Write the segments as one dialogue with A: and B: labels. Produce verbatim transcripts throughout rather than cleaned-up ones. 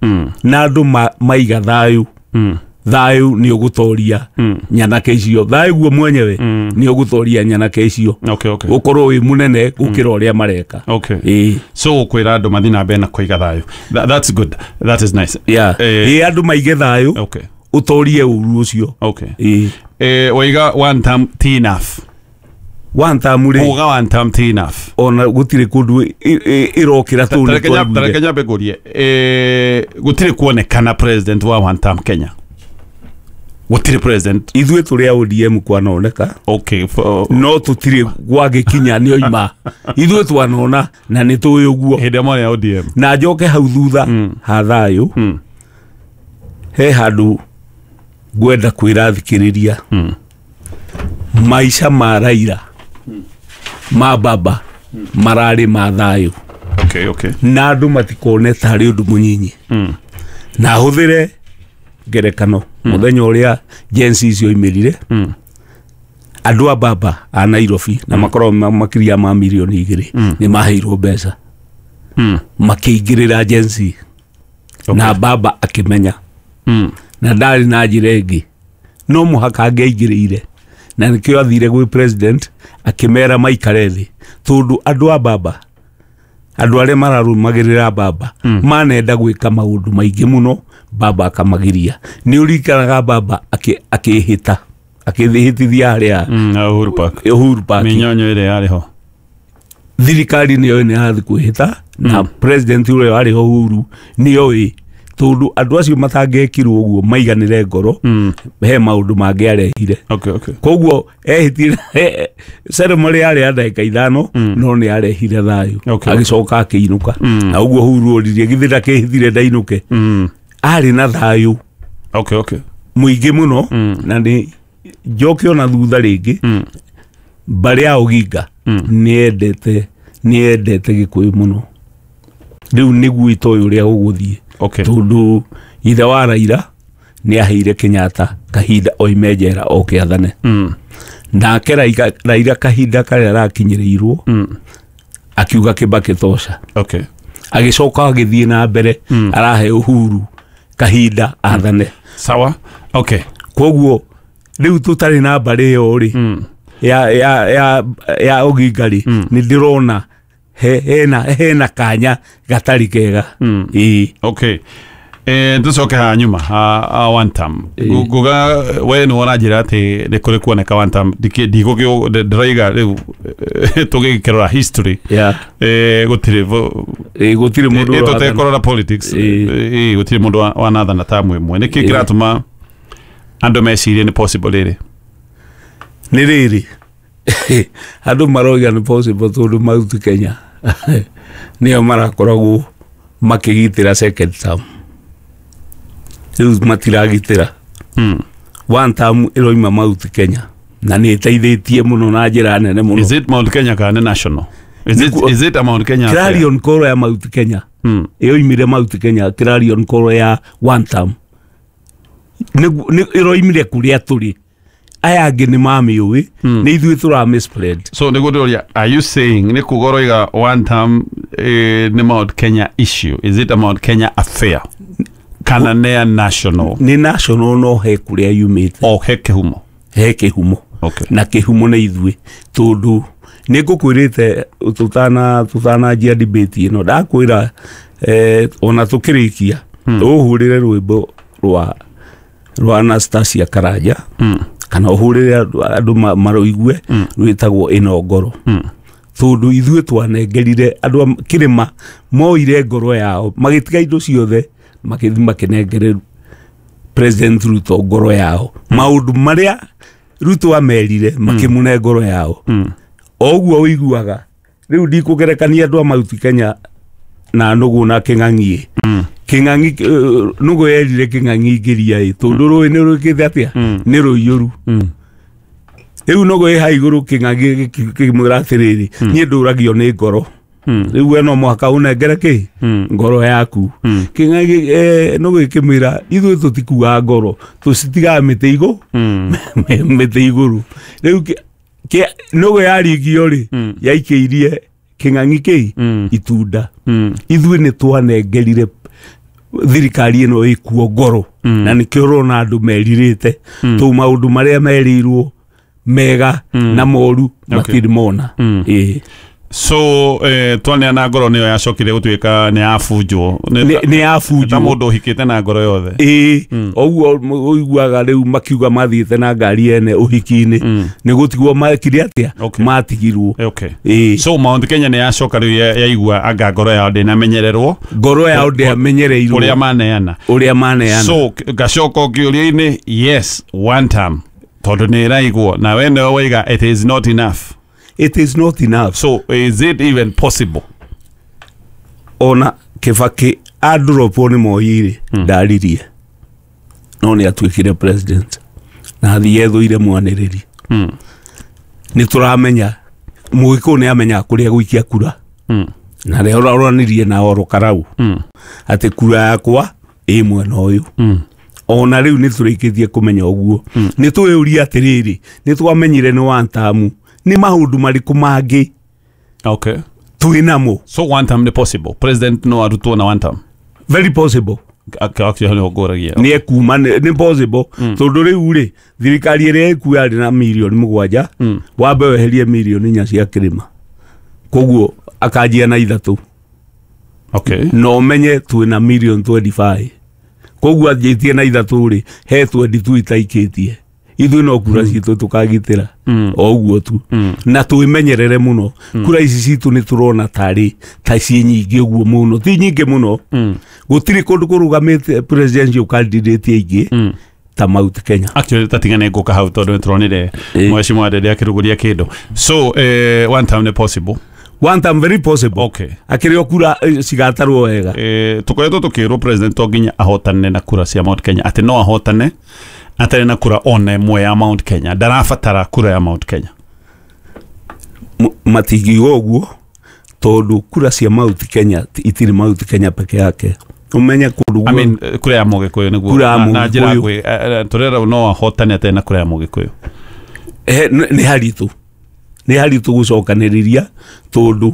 A: Mm.
B: Na andũ ma, maiga thayũ.
A: Mm.
B: Thayũ nĩ ũgũtoria
A: Mm.
B: nyanake icio, thayũ guo mwenyewe
A: Mm.
B: nĩ ũgũtoria nyanake icio,
A: Okay, okay.
B: ũkorwo wĩ mũnene gũkĩra ũrĩa mareka.
A: Okay.
B: Ĩĩ.
A: So kwĩra andũ mathiĩ na mbere na kũiga thayũ. Tha- that's good, that is nice.
B: Yeah.
A: Eh,
B: ĩĩ, andũ maige thayũ,
A: okay
B: ũtorie ũru ũcio.
A: Okay.
B: Ĩĩ.
A: Eh, waiga one term ti enough.
B: One term rĩ,
A: Kuga one term ti enough.
B: Ona gũtirĩ kũndũ ĩ- ĩ- ĩrokĩra tũu nĩ
A: Tareke nya-
B: twaiguire.
A: Tareke nyambe ngũrie, eh, gũtirĩ kuonekana president wa one term Kenya, gũtirĩ president.
B: Ithuĩ tũrĩ a O D M kwanoneka.
A: Okay, for,
B: No tũtirĩ gwagĩkinya nĩ oima, ithuĩ twanona na nĩ tũĩ ũguo.
A: Hĩndĩ ĩrĩa mwarĩ a O D M.
B: Na njoke hau thutha
A: Mm.
B: ha thayũ,
A: Mm.
B: he handũ ngwenda kwĩra thikĩrĩria.
A: Mm.
B: Maica ma Raila, ma baba, mararĩ ma thayũ.
A: okay okay
B: Na andũ matikone tarĩ ũndũ mũnyinyi.
A: mm.
B: Na hũthĩre ngerekano, mũthenya ũrĩa Gen Z icio imĩrire,
A: Mm.
B: andũ a baba a Nairobi na makoragwo ma- makĩria ma mirioni igĩrĩ
A: Mm.
B: nĩ maheirwo mbeca,
A: Mm.
B: makĩingĩrĩra Gen Z.
A: Okay.
B: Na baba akĩmenya
A: Mm.
B: na ndarĩ na njĩra ĩngĩ, no mũhaka angĩaingĩrĩire, na nĩkĩo athire gwĩ president akĩmera maikare thĩ, tondũ andũ a baba, andũ arĩa mararũmagĩrĩra baba,
A: Mm.
B: manenda gwĩka maũndũ maingĩ mũno, baba akamagiria. Nĩ ũririkanaga baba akĩ- akĩhĩta, akĩhĩtithia harĩa
A: Mm. na Uhuru Park.
B: Uhuru Park.
A: Mĩnyonyo ĩrĩa yarĩ ho.
B: Thirikari nĩyo nĩ yathi kwĩhĩta na
A: Mm.
B: president ũrĩa warĩ ho Uhuru nĩoĩ, tondũ andũ acio matangĩekirwo ũguo maiganĩre ngoro,
A: Mm.
B: he maũndũ mangĩ arehire.
A: okay okay
B: Koguo ehĩtire, ceremony yarĩ ya ndagĩka ithano,
A: Mm.
B: no nĩ arehire thayũ.
A: Okay.
B: Agĩcoka akĩinũka.
A: Mm.
B: Na ũguo Uhuru oririe, githĩ ndakĩhithire ndainũke?
A: Mm.
B: Arĩ na thayũ
A: okay okay
B: mũingĩ mũno.
A: Mm.
B: Na nĩ njoke ona thutha rĩngĩ,
A: Mm.
B: mbarĩ ya Oginga
A: Mm.
B: nĩ endete nĩ endete Gĩkũyũ mũno. Rĩu nĩguo itoĩ ũrĩa gũgũthiĩ,
A: okay
B: tondũ ithe wa Raila nĩ aheire Kenyatta kahinda oime njera oke athane.
A: Mm.
B: Nake Raila, Raila kahinda karĩa arakinyĩrĩirwo,
A: Mm.
B: akiuga Kibaki tosha.
A: Okay
B: Agĩcoka agĩthiĩ na mbere,
A: Mm.
B: arahe Uhuru kahinda athane.
A: Sawa, okay.
B: Koguo rĩu tũtarĩ na mbarĩ ĩyo rĩ,
A: mm.
B: ya ya ya ya Oginga rĩ,
A: Mm.
B: nĩ ndĩrona he, hena hena kanya gatarĩ kega.
A: Mm.
B: Ĩĩ.
A: Okay, eh tucoke ha nyuma ha, ha one term.
B: Ĩĩ.
A: Nguga we nĩ wona njĩra atĩ nĩ kũrĩ kuoneka one term, ndigũkĩ ndĩroiga rĩu, eh, tũgĩkĩrora history,
B: yeah.
A: eh gũtirĩ vo-
B: Ĩĩ, gũtirĩ mũndũ
A: ĩ
B: ũrathana.
A: tũtekũrora politics.
B: Ĩĩ.
A: Ĩ gũtirĩ mũndũ wa- wanathana tamu ĩmwe. Nĩkĩ
B: Ĩĩ.
A: kĩratũma andũ mecirie nĩ possible rĩrĩ?
B: Nĩ rĩrĩ, andũ maroiga nĩ possible tondũ Mount Kenya nĩo marakoragwo makĩgitĩra second term, rĩu matiragitĩra.
A: Mm.
B: One term ĩroima Mount Kenya na nĩ ĩteithĩtie mũno na njĩra nene mũno.
A: Is it Mount Kenya kana nĩ national? Is it,
B: Nĩkuo-
A: is it a Mount Kenya affair?
B: Clarion call ya Mount Kenya
A: Mm.
B: ĩyoimire Mount Kenya, clarion call ya one term Nĩguo- nĩ- ĩroimire kũrĩa tũrĩ, aya angĩ nĩ mamĩũĩ,
A: Mm.
B: nĩ ithuĩ tũramĩ spread.
A: So nĩguo ndĩroria, are you saying nĩ kuga ũroiga one term, eh, nĩ Mount Kenya issue? Is it a Mount Kenya affair kana nĩ a national?
B: Nĩ national, no he kũrĩa yumĩte.
A: O he kĩhumo.
B: He kĩhumo.
A: Okay
B: na kĩhumo nĩ ithuĩ, tondũ nĩ ngũkwĩrĩte tũtana tũtananjia debate ĩno, ndakwĩra, eh, ona tũkĩrĩkia, ũhũrĩre rwĩmbo rwa rwa Anastasia Karanja,
A: mm.
B: kana ũhũrĩre andũ andũ ma- marũigue,
A: Mm.
B: rwĩtagwo ĩno ngoro,
A: Mm.
B: tondũ ithuĩ twanengerire andũ a kĩrĩma, moire ngoro yao, magĩtiga indo ciothe, magĩthiĩ makĩnengere President Ruto ngoro yao. Maũndũ marĩa Ruto amerire, makĩmũne ngoro yao.
A: Mm.
B: O ũguo ũiguaga rĩu, ndikũgerekania andũ a Mount Kenya na nũgũ na kĩng'ang'i.
A: Mm.
B: Kĩng'ang'i, eh, nũgũ yerire kĩng'ang'i ngĩria ĩ, tondũ rũĩ nĩ rwĩkĩte atĩa?
A: Mm.
B: Nĩ rũiyũru.
A: Mm.
B: Rĩu nũgũ ĩ ha igũrũ, kĩng'ang'i gĩkĩmwĩra atĩrĩrĩ, niĩ ndũragio nĩ ngoro.
A: Mm.
B: Rĩu we no mũhaka ũnengere kĩ?
A: Mm.
B: Ngoro yaku.
A: Mm.
B: Kĩng'ang'i, eh, nũgũ ĩkĩmwĩra, ithuĩ tũtikuaga ngoro, tũcitigaga mĩtĩ igũ
A: Mm.
B: mĩtĩ igũrũ. Rĩu kĩ- kĩ- nũgũ yaringio rĩ,
A: Mm.
B: yaikĩirie kĩng'ang'i kĩ
A: Mm.
B: itunda.
A: Mm.
B: Ithuĩ nĩ twanengerire Thirikari ĩno ĩkuo ngoro mm. na nĩkĩo ũrona andũ merirĩte mm. tũu maũndũ marĩa merirwo mega mm. na moru okay. matirĩ mona mm. ĩĩ.
A: So eh, twaneana ngoro nĩyo yacokire gũtuĩka nĩ yabunjwo
B: nĩ yabunjwo
A: ta mũndũ ũhikĩte na ngoro yothe
B: ĩĩ mm. Ũguo ũiguaga rĩu makiuga mathiĩte na ngari ene ũhiki-inĩ mm. nĩ gũtigwo makire atĩa
A: okay.
B: Matigirwo
A: okay. Ĩĩ. So Mount Kenya nĩ yacoka rĩu yaigua anga ngoro yao ndĩnamenyererwo
B: ngoro yao ndĩamenyereirwo
A: ũrĩa maneana
B: ũrĩa maneana.
A: So ngacoka kĩũria-inĩ, yes one time tondũ nĩ ĩraigwo na we nĩwe waiga it is not enough.
B: It is not enough.
A: So is it even possible?
B: Ona Kibaki adropwo nĩ Moi-rĩ mm. ndaririe no nĩ atuĩkire president na athiĩ ethũire mwanĩrĩri mm. Nĩ tũramenya Mũgĩkũyũ nĩ amenyaga kũrĩa gũikia kura mm. na rĩa ũroranirie na Oro Karau mm. atĩ kura yakwa ĩ mwena ũyũ mm. Ona rĩu nĩ tũrĩkĩtie kũmenya ũguo mm. Nĩ twĩyũria atĩrĩrĩ, nĩ twamenyire nĩ one term ni maũndũ marĩkũ mangĩ
A: okay
B: twĩ namo.
A: So one term nĩ possible president no arutwo na one term
B: very possible nĩ ekuma nĩ possible mm. Tondũ rĩu rĩ thirikari ĩrĩa ĩkuo yarĩ na mirioni mũgwanja mm. wambe weherie mirioni inya cia kĩrĩma koguo akanjia na ithatũ
A: okay.
B: Na ũmenye twĩ na mirioni twenty-five koguo anjĩtie na ithatũ rĩ he twenty-two itaikĩtie ithuĩ no kura citũ tũkagitĩra o ũguo tu mm. Na twĩmenyerere mũno mm. Kura ici citũ nĩ tũrona tarĩ ta ciĩ nyingĩ ũguo mũno ti nyingĩ mũno mm. Gũtirĩ kũndũ kũrũgamĩte presidential candidate aingĩ mm. ta Mount Kenya.
A: Actually tatigane ngũka hau tondũ nĩtũronire Mheshimiwa Ndede akĩrugũria kĩndũ. So eh, one time nĩ possible.
B: One time very possible.
A: Okay.
B: Akĩrĩ o kura cigatarwo wega
A: eh, tũkoretwo tũkĩrwo president to nginya ahotane na kura cia Mount Kenya atĩ no ahotane atarĩ na kura ona ĩmwe ya Mount Kenya ndarabatara kura ya Mount Kenya.
B: Matingiuga ũguo tondũ kura cia Mount Kenya itirĩ Mount Kenya peke yake ũmenye kũndũ
A: I mean kura ya Mũgĩkũyũ nĩguo na njĩra gwĩ tũrera no ahotane atarĩ na kura ya Mũgĩkũyũ
B: nĩ haritũ nĩ haritũ gũcokanĩrĩria tondũ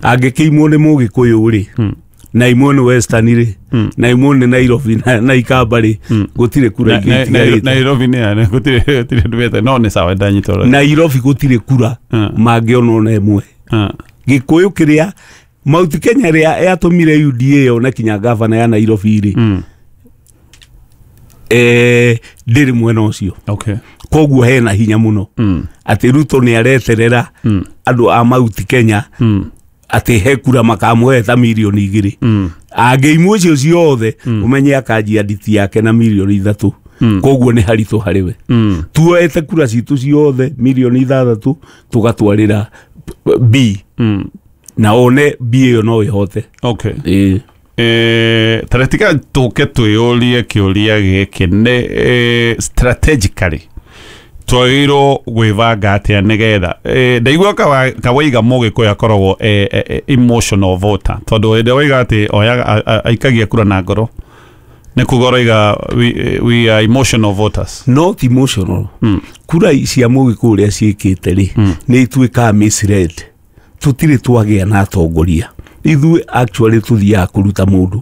B: angĩkĩimwo nĩ Mũgĩkũyũ rĩ hmm. na imwe nĩ Western rĩ mm. na imwe nĩ Nairobi na, na Ikamba rĩ mm. gũtirĩ kura
A: ingĩ itigarĩte. Nairobi nĩ gũtirĩ gũtirĩ ndũmĩte no nĩ sawa ndanyita ũrĩa
B: Nairobi gũtirĩ kura mm. mangĩona ona ĩmwe mm. Gĩkũyũ kĩrĩa Mount Kenya rĩa yatũmire U D A yone kinya gavana ya Nairobi rĩ mm. eh ndĩrĩ mwena ũcio
A: okay.
B: Koguo hena hinya mũno mm. atĩ Ruto nĩ areterera mm. andũ a Mount Kenya mm. atĩ he kura makamũhe ta mirioni igĩrĩ mm. Angĩimwo icio ciothe mm. ũmenye akanjia nditi yake na mirioni ithatũ mm. Koguo nĩ haritũ harĩ we mm. Tuoete kura citũ ciothe mirioni ithathatũ tũgatwarĩra B mm. na one B ĩyo no ĩhote
A: okay. Ĩĩ. Eh, taretika tũke twĩyũrie kĩũria gĩkĩ nĩ eh, strategically twagĩrĩirwo gwĩbanga atĩa nĩgetha eh, ndaigua kawaiga Mũgĩkũyũ akoragwo eh, eh, emotional voter tondũ hĩndĩ waiga atĩ oyaga aikagia kura na ngoro nĩ kuga ũroiga we, we are emotional voters.
B: Not emotional mm. Kura cia Mũgĩkũyũ ũrĩa ciĩkĩte rĩ mm. nĩ ituĩkaga misled tũtirĩ twagĩa na atongoria ithuĩ actually tũthiaga kũruta mũndũ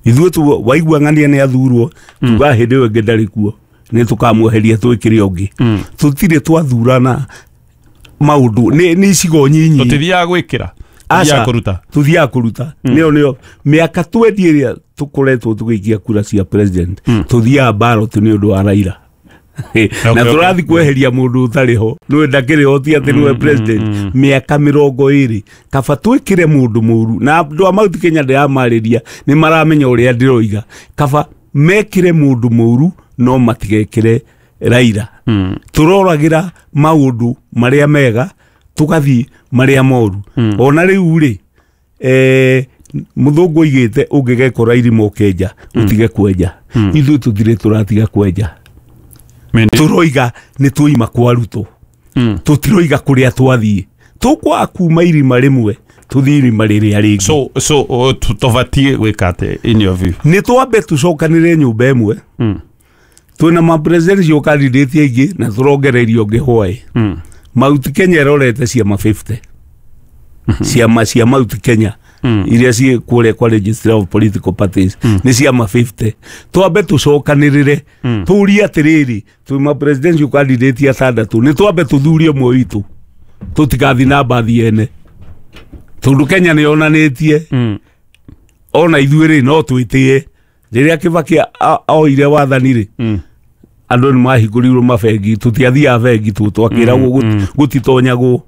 B: ithuĩ tu waigua ng'ania nĩ athurwo tuga hĩndĩ ĩyo ĩngĩ ndarĩ kuo nĩ tũkamweheria twĩkĩre ũngĩ mm. Tũtirĩ twathurana maũndũ nĩ nĩ icigo nyinyi
A: tũtithiaga gwĩkĩra tũthiaga kũruta
B: tũthiaga kũruta nĩyo nĩyo mĩaka twenty ĩrĩa tũkoretwo tũgĩikia kura cia president mm. Tũthiaga ballot nĩ ũndũ wa Raila na tũrathiĩ kweheria mũndũ ũtarĩ ho nĩwe ndakĩrĩ ho ti atĩ nĩwe president mĩaka mĩrongo ĩrĩ kaba twĩkĩre mũndũ mũru na andũ a Mount Kenya ndĩramarĩria nĩ maramenya ũrĩa ndĩroiga kaba mekĩre mũndũ mũru no matigekĩre Raila mm. Tũroragĩra maũndũ marĩa mega tũgathiĩ marĩa moru mm. Ona rĩu rĩ eh, mũthũngũ oigĩte ũngĩgekora irima ũkenja ũtige kwenja mm. Ithuĩ tũtirĩ tũratiga kwenja tũroiga nĩ twaima kwa Ruto mm. Tũtiroiga kũrĩa twathiĩ tũkwaga kuma irima rĩmwe tũthiĩ irima rĩrĩa rĩngĩ.
A: So so uh, tũbatiĩ gwĩka atĩ in your view
B: nĩ twambe tũcokanĩre nyũmba ĩmwe mm. Twĩna ma presidential candidate aingĩ na tũrongererio ũngĩ hwaĩ mm. Mount Kenya ĩrorete ciama fifty mm -hmm. Ciama cia Mount Kenya Iria ciĩ kũrĩa kwa Registrar of Political Parties nĩ ciama mĩrongo ĩtano. Twambe tũcokanĩrĩre, tũrie atĩrĩrĩ, twĩ ma presidential candidate atandatũ, nĩ twambe tũthurie ũmwe witũ, tũtigathi na mbathi ene, tondũ Kenya nĩ yonanĩtie ona ithuĩ rĩ no twĩtĩe. Rĩrĩa Kibaki a- oire wathani rĩ, andũ nĩ mahingũrirwo mabengi, tũtiathiaga bengi, tũ twakĩragwo gut- gũtitonyagwo.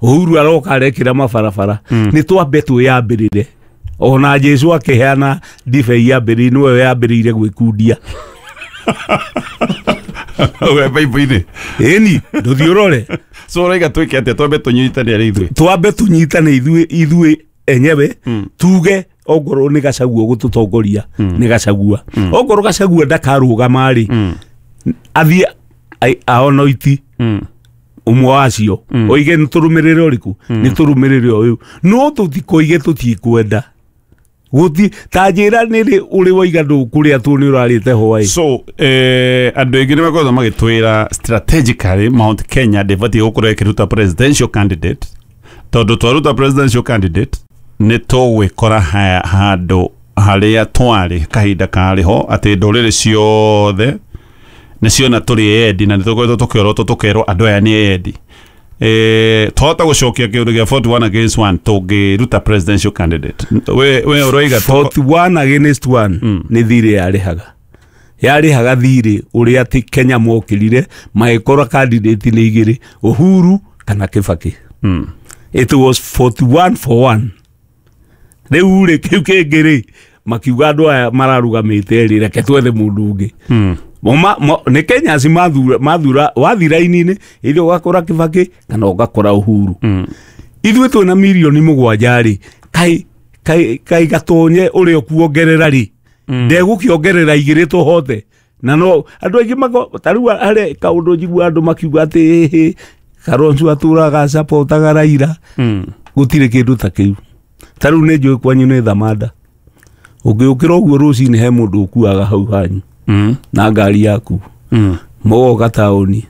B: Uhuru aroka arekĩra mabarabara. Nĩ twambe twĩyambĩrĩre. Ona Jesu akĩheana ndibei yambĩrĩire, nĩwe yambĩrĩire gwĩkundia.
A: We Bible-inĩ?
B: Ĩni, ndũthiĩ ũrore.
A: So ũraiga twĩke atĩa? Twambe tũnyitane arĩ ithuĩ?
B: Twambe tũnyitane ithuĩ ithuĩ enyewe, tuge ongorwo nĩ Gacagua gũtũtongoria nĩ Gacagua, ongorwo Gacagua ndakarũgama rĩ, athiĩ ai- aonoiti ũmwe wacio, oige nĩ tũrũmĩrĩre ũrĩkũ, nĩ tũrũmĩrĩre ũyũ, no tũtikoige tũtikwenda gũti ta njĩra nĩrĩ ũrĩ waiga ndũkũrĩa tu nĩ ũrarĩte hwaĩ.
A: So eh, andũ aingĩ nĩ makoretwo magĩtwĩra strategically Mount Kenya ndĩbatiĩ gũkorwo ĩkĩruta presidential candidate, tondũ twaruta presidential candidate nĩ tũgwĩkora ha- handũ harĩa twarĩ kahinda karĩ ho, atĩ ndũrĩrĩ ciothe nĩ ciona tũrĩ endi, na nĩ tũkoretwo tũkĩorotwo tũkerwo andũ aya nĩ endi. Eh, twahota gũcokia kĩũndũ gĩa forty-one against one tũngĩruta presidential candidate. we we ũroiga tũko-
B: forty-one against one nĩ thirĩ yarĩhaga yarĩhaga thirĩ ũrĩa atĩ Kenya mokĩrire magĩkora candidate nĩ igĩrĩ, Uhuru kana Kibaki.
A: Mm.
B: It was forty-one for one. Rĩu rĩ, kĩu kĩngĩ rĩ, makiuga andũ aya mararũgamĩte rĩ, reke twethe mũndũ ũngĩ.
A: Mm.
B: Mo ma- mo- nĩ Kenyans mathura mathura wathi raini-inĩ, ithe ũgakora Kibaki kana ũgakora Uhuru.
A: Mm.
B: Ithuĩ twĩna mirioni mũgwanja rĩ, kai kai kai gatonye ũrĩa ũkuongerera rĩ, ndegũkĩongerera igĩrĩ tũhote. Na no andũ aingĩ mako ta rĩu harĩ kaũndũ njigua andũ makiuga atĩ ĩhĩ Kalonzo atũraga sapotaga Raila.
A: Mm.
B: Gũtirĩ kĩndũ ta kĩu. Ta rĩu nĩ njũĩ kwanyu nĩ thamanda, ũngĩũkĩra ũguo rũcinĩ he mũndũ ũkuaga hau hanyu
A: Mm.
B: na ngari yaku,
A: Mm.
B: mũgoka taũni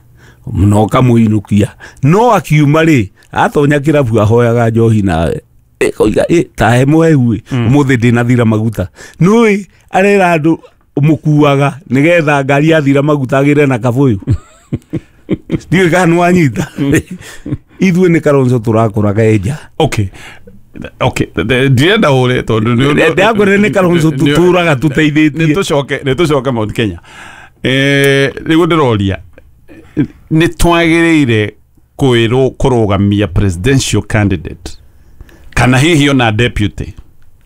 B: na ũkamũinũkia, no akiuma rĩ, atonya kĩrabu ahoyaga njohi nawe ĩkoiga ĩ tahe mũhehu ĩ, ũmũthĩ ndĩnathira maguta. Nũĩ arera andũ mũkuaga nĩgetha ngari yathira maguta agĩre na kabũyũ. Ndiũĩ kana nĩwanyita. Ithuĩ nĩ Kalonzo tũrakoraga enja.
A: Okay, okay, ndirenda ũre tondũ nĩ-
B: Ndakwĩra nĩ Kalonzo
A: nĩ-
B: tũtũraga
A: nĩ
B: tũteithĩtie.
A: Tũcoke nĩ tũcoke Mount Kenya. Eh, rĩu ndĩroria, nĩ twagĩrĩire kwĩrwo kũrũgamia presidential candidate kana hihi ona deputy?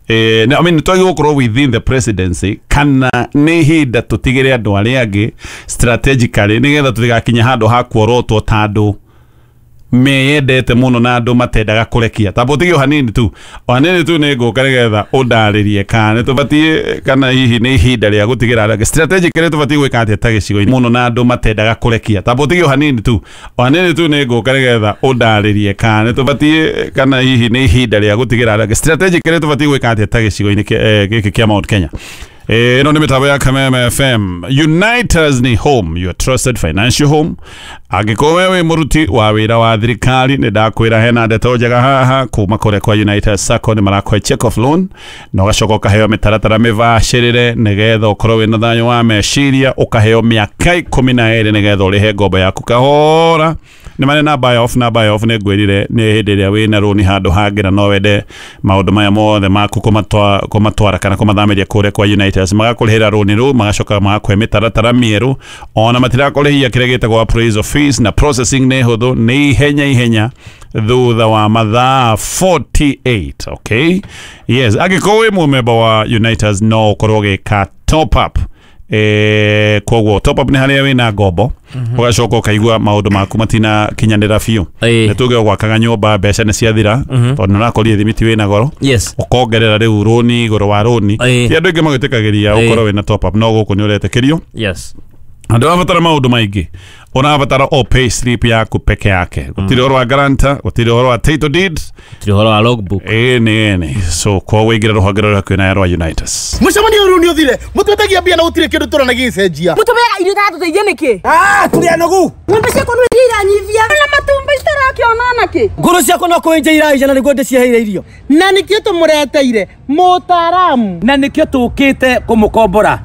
A: Eh, na- I mean, twagĩrĩirwo gũkorwo within the presidency kana nĩ ihinda tũtigĩre andũ arĩa angĩ strategically, nĩgetha tũtigakinye handũ ha kuorotwo ta andũ meyendete mũno na andũ matendaga kũrekia? Tamba ũtige o hanini tu, o hanini tu, nĩ ngũka nĩgetha ũndarĩrie kana nĩ tũbatiĩ kana hihi nĩ ihinda rĩa gũtigĩra arĩa angĩ. Strategically tũbatiĩ gwĩka atĩa ta gĩcigo-inĩ mũno na andũ matendaga kũrekia? Tamba ũtige o hanini tu, o hanini tu, nĩ ngũka nĩgetha ũndarĩrie kana nĩ tũbatiĩ kana hihi nĩ ihinda rĩa gũtigĩra arĩa angĩ. Strategically tũbatiĩ gwĩka atĩa ta gĩcigo-inĩ kĩa- eh, gĩkĩ kĩa Mount Kenya? Ĩno nĩ mĩtambo ya Kameme F M. Uniters ni home, your trusted financial home. Angĩkorwo we wĩ mũruti wa wĩra wa thirikari, nĩ ndakwĩra hena ndeto njega haha kuma kũrĩa kwa United Sacco. Nĩ marakũhe check off loan na ũgacoka ũkaheo mĩtaratara mĩbacĩrĩre nĩgetha ũkorwo wĩna thayũ wa meciria, ũkaheo mĩaka ikũmi na ĩrĩ nĩgetha ũrĩhe ngombo yaku kahora. Nĩ marĩ na buy off, na buy off nĩ ngwĩrire nĩ hĩndĩ ĩrĩa wĩna rũni handũ hangĩ na no wende maũndũ maya mothe maku kũmatwa- kũmatwara kana kũmathamĩria kũrĩa kwa United, magakũrĩhĩra rũni rũu, magacoka magakũhe mĩtaratara mĩerũ, ona matirakũrĩhia kĩrĩa gĩtagwo appraisal fees, na processing nĩ hũthũ, nĩ ihenya ihenya, thutha wa mathaa mĩrongo ĩnĩ na merĩ. Okay, yes, angĩkorwo wĩ mũmemba wa Uniters no ũkorwo ũgĩka top up. Eh, koguo top up nĩ harĩa wĩna ngombo ũgacoka ũkaigua maũndũ maku matinakinyanĩra biũ.
C: Ĩĩ.
A: Nĩ tuge ũgwakaga nyũmba, mbeca nĩ ciathira tondũ nĩ ũrakorire thimiti wĩna goro,
C: yes
A: ũkongerera rĩu rũni igũrũ wa rũni.
C: Ĩĩ.
A: Ti andũ aingĩ magĩtĩkagĩria
C: Ĩĩ.
A: ũkorwo wĩna top up, no gũkũ nĩ ũretĩkĩrio.
C: Yes
A: Na ndũrabatara maũndũ maingĩ, ũrabatara o pay slip yaku peke yake. Gũtirĩ ũhoro wa guarantor, gũtirĩ ũhoro wa title deed.
C: Tiri ũhoro wa logbook.
A: Ĩni ĩni, so koguo ingĩra rũhonge rũrĩa hakuhĩ na rwa Unitas.
D: Mũcemanio ũyũ nĩ ũthire, mũtwetagia mbia na gũtirĩ kĩndũ tũrona gĩgĩcenjia.
E: Mũtũmeaga irio itatũteithia nĩkĩ?
F: Ah, tũrĩ anogu.
E: Ng'ombe ciakwa nĩ iria iranyivia na matumbĩ citarakĩona nakĩ.
F: Ngũrũ ciakwa no kũenja iraija na nĩguo ndĩciheire irio.
D: Na nĩkĩo tũmũreteire mũtaaramu.
F: Na nĩkĩo tũkĩte kũmũkombora.